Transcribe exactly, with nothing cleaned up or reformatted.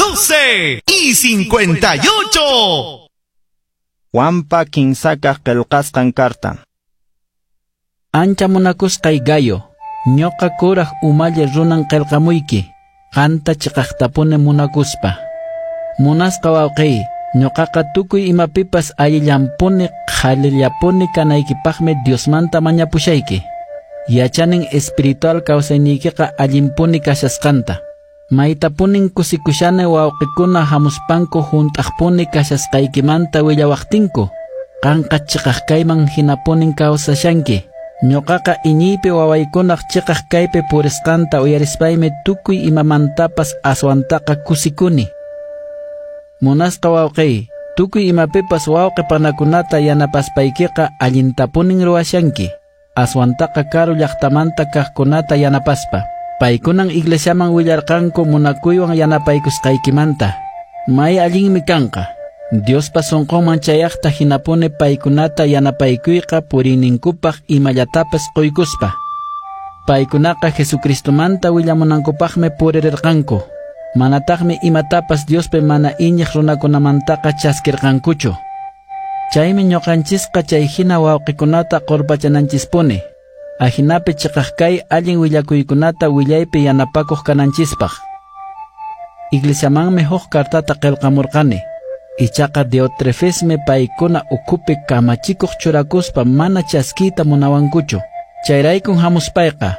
doce y cincuenta y ocho. Juanpa kinsakaq qillqasqan karta. Ancha munakusqay Gayo, ñuqa kuraq umalli runan qillqamuyki, qanta chiqaqtapuni munakuspa. Munasqa wawqiy, ñuqaqa tukuy imapipas allillanpuni qhalillapuni kanaykipaqmi Diosmanta mañapushayki. Yachanin espiritual kawsayniykiqa allinpuni kashasqanta. Maytapunin kusikushani wawqikuna hamuspanku hunt'aqpuni kashasqaykimanta willawaqtinku. Qanqa chiqaq kayman hinapunin kawsashanki. Ñuqaqa iñiypi wawaykunaq chiqaq kaypi purisqanta uyarispaymi tukuy imamantapas aswantaqa kusikuni. Munasqa wawqiy, tukuy imapipas wawqi panakunata yanapaspaykiqa allintapunin ruwashanki. Aswantaqa karu llaqtamanta kaqkunata yanapaspa. Paykunan iglesiaman willarqanku munakuywan yanapaykusqaykimanta. May allinmi kanqa. Diospa sunqunman chayaqta hinapuni paykunata yanapaykuyqa puriyninkupaq imallatapas quykuspa. Paykunaqa Jesucristomanta willamunankupaqmi purirqanku. Manataqmi imatapas Diospi mana iñiq runakunamantaqa chaskirqankuchu. Chaymi ñuqanchisqa chay hina wawqikunata qurpachananchispuni. Ajinapi chiqaq kay allin willakuykunata willaypi yanapakuq kananchispaq. Iglesiamanmi huk kartata qillqamurqani. Ichaqa Diotrefesmi paykuna ukhupi kamachikuq churakuspa mana chaskiyta munawankuchu. Chayraykun hamuspayqa